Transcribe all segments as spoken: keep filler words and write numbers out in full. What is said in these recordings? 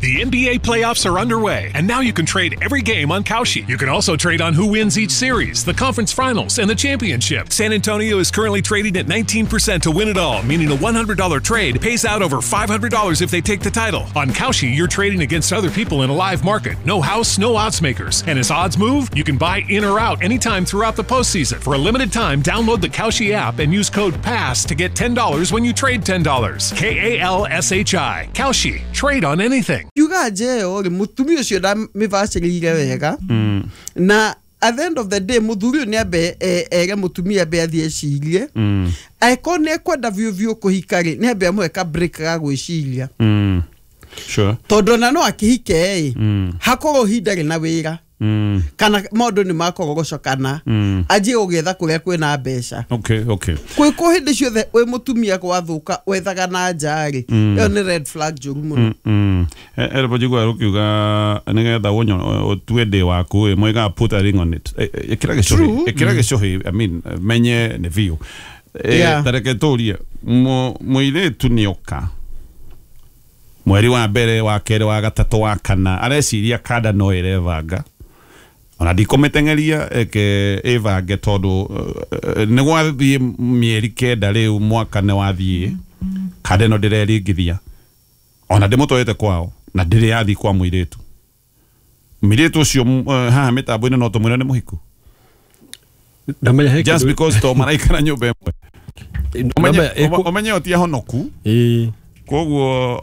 The N B A playoffs are underway, and now you can trade every game on Kalshi. You can also trade on who wins each series, the conference finals, and the championship. San Antonio is currently trading at nineteen percent to win it all, meaning a one hundred dollar trade pays out over five hundred dollars if they take the title. On Kalshi, you're trading against other people in a live market. No house, no odds makers. And as odds move, you can buy in or out anytime throughout the postseason. For a limited time, download the Kalshi app and use code PASS to get ten dollars when you trade ten dollars. K A L S H I. Kalshi. Trade on anything. Yuga je ori mutumia ucio ndamĩbacĩrĩire wega na at the end of the day muthuri ũyũ nĩambe ere mutumia ambe athiĩ ecirie angĩkorwo nĩekwenda biũ biũ kũhika rĩ nĩambe amũhe ka break ga gwĩciria sure tondũ ona no akĩhike ĩ hakorwo ihinda rĩ na wĩra kana maũndũ nĩ makorogocokana anjie gũgĩetha kũrĩa kwĩna mbeca. Okay, okay. Kwĩkwo hĩndĩ ciothe wĩ mũtumia gwathũka wethaga na nja rĩ ĩyo nĩ red flag njũru mũno. Ero njigua rũkiuga nĩgetha ũtue ndĩ waku ĩ moigaga put a ring on it. Ĩkĩra gĩcũhĩ, ĩkĩra gĩcũhĩ, I mean menye nĩ biũ. Ta reke tũrie mũirĩtu nĩoka mweri wa mbere wa kerĩ wa gatatũ wa kana areciria kanda no ĩrebanga ona ndikũmĩteng'eria eke ĩbange tondũ nĩ gwathiĩ mĩeri kenda rĩu mwaka nĩ wathiĩ kanda ĩno ndĩreringithia ona ndĩmũtwarĩte kwao na ndĩrĩ yathiĩ kwa mũirĩtu mũirĩtu ũcio haha mĩtambo-inĩ no tũmwĩre nĩ mũhiku just because to maraikara nyũmba ĩmwe ũmenye o ti ahonoku koguo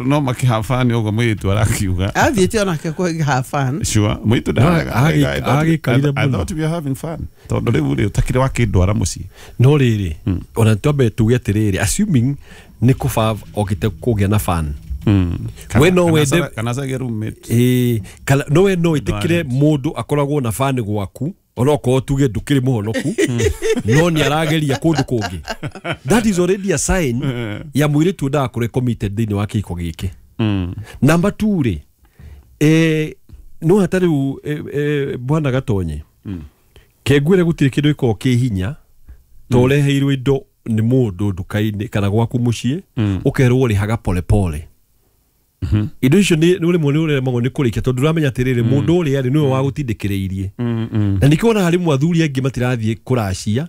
no makĩhafani ũguo mũirĩtu arakiuga athiĩte onake kũ have fun. Sure mũirĩtu I thought we are having fun tondũ rĩu rĩ ũtakĩrĩ wakĩndwara mũciĩ no rĩrĩ ona twambe tuge atĩrĩrĩ assuming nĩ kũba okĩte kũgĩa na fun we no wende kana cagie roommate ĩĩ kana no we no ĩtĩkĩre mũndũ akoragwo na fun gwaku onokorwo tuge ndũkĩrĩ mũhonoku no nĩ arageria kũndũ kũngĩ that is already a sign ya mũirĩtu ndagakorwo committed thĩinĩ wa kĩhiko gĩkĩ. Number two rĩ eh no hata rĩu bwana Gatonye kengwĩre gũtirĩ kĩndũ gĩkoragwo kĩ hinya ta ũreheirwo indo nĩ mũndũ nduka-inĩ kana gwaku mũciĩ ũkerwo ũrĩhaga pole pole indo icio nĩ rĩmwe nĩ ũremagwo nĩ kũrĩkia tondũ ndũramenya atĩrĩrĩ mũndũ ũrĩa rĩ nĩwe wagũtindĩkĩrĩirie na nĩkĩo wonaga rĩmwe athuri aingĩ matirathiĩ kũracia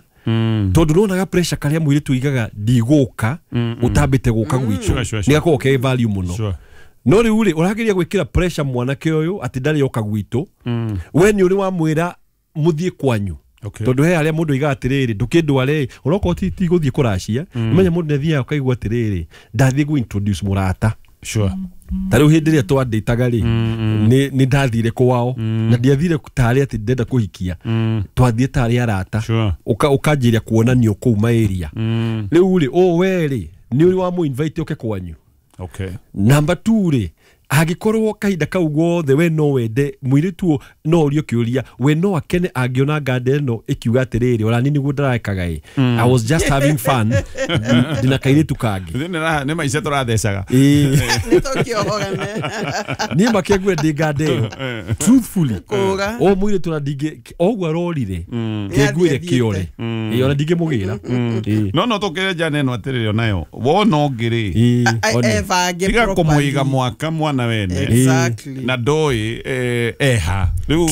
tondũ nĩwonaga pressure karĩa mũirĩtu oigaga ndigũka ũtambĩte gũka gwitũ nĩgakoragwo ke value mũno no rĩu rĩ ũrageria gwĩkĩra pressure mwanake ũyũ atĩ ndarĩ oka gwitũ we nĩ ũrĩ wamwĩra mũthiĩ kwanyu tondũ he harĩa mũndũ oigaga atĩrĩrĩ ndũkĩndware onokorwo ti gũthiĩ kũracia ũmenye mũndũ nĩathiaga ũkaigua atĩrĩrĩ ndathiĩ gũ introduce mũrata. Sure. Ta rĩu hĩndĩ ĩrĩa twandĩtaga rĩ nĩ ndathire kwao na ndiathire tarĩ atĩ ndĩrenda kũhikia twathiĩ tarĩ arata ũkanjĩria kuonanio kũu maĩria rĩu rĩ ũ we rĩ nĩ ũrĩ wamũ invite ũke kwanyu. Okay. Number two rĩ angĩkorwo kahinda kau gothe we no wende mũirĩtu no ũrio kĩũria we no akene angĩona nganda ĩno ĩkiuga atĩrĩrĩ ona niĩ nĩguo ndĩrekaga ĩ I was just having fun ndĩna kairĩtu kangĩ nĩ maica tũrathecaga nĩtũkĩohorane niĩ makĩngue ndĩ nganda ĩyo truthfully o mũirĩtu ona ndingĩ oguo arorire kĩnguĩre kĩore ĩ ona ndingĩmũgĩra no no tũkĩrenja neno atĩrĩrĩ onayo wona ũngĩ rĩ tiga kũmũiga mwaka mwana wene exactly na ndũĩ eha rĩu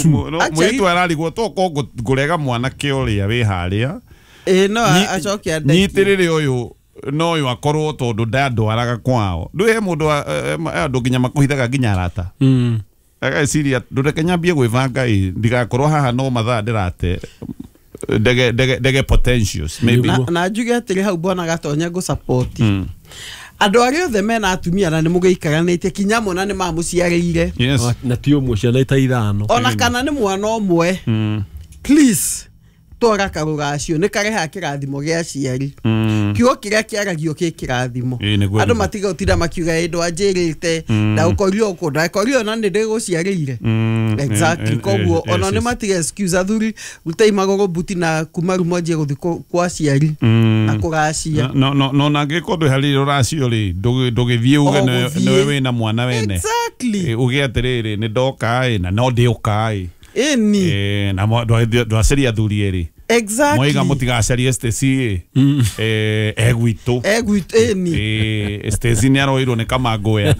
mũirĩtu ararigwo tokorwo ngũrega mwanake ũrĩa wĩ harĩa ĩ no acoke andeke nyitĩrĩre ũyũ no ũyũ akorwo tondũ ndandwaraga kwao ndũĩ he mũndũ andũ nginya makũhithaga nginya arata ageciria ndũreke nyambie gwĩbanga ĩ ndigakorwo haha no mathaa ndĩrate ndege ndege ndege potentials maybe na njuge atĩrĩ hau bwana Gatonye ngũ support andũ arĩa othe mena atumia na nĩ mũgĩikaranĩtie kinya mona nĩ mamũciarĩire na ti ũmwe ciana ita ithano ona kana nĩ mwana ũmwe please twara karũracio nĩ karehaga kĩrathimo gĩa aciari kiugo kĩrĩa kĩaragio kĩ kĩrathimo andũ matiga gũtinda makiuga ĩ ndwanjĩrĩte ndagũkorio ũkũ ndakorio ona nĩ ndĩgũciarĩire exactly koguo ona nĩ matiga excuse athuri rutai magũrũ mbuti na kuma rĩu mwanjie gũthiĩ kwa aciari na kũracia no no no na angĩkorwo ndwĩharĩirie rũracio rĩ ndũgĩthiĩ uge nĩwe wĩna mwana wene exactly uge atĩrĩrĩ nĩ ndoka ĩ na no ndĩũka ĩ ĩni na ndwacaria athuri erĩ Exactly. Moiga mũtigacarie Stacy ĩ eh egwitũ egwitũ ĩni eh Stacy nĩ aroirwo nĩ kamangũya.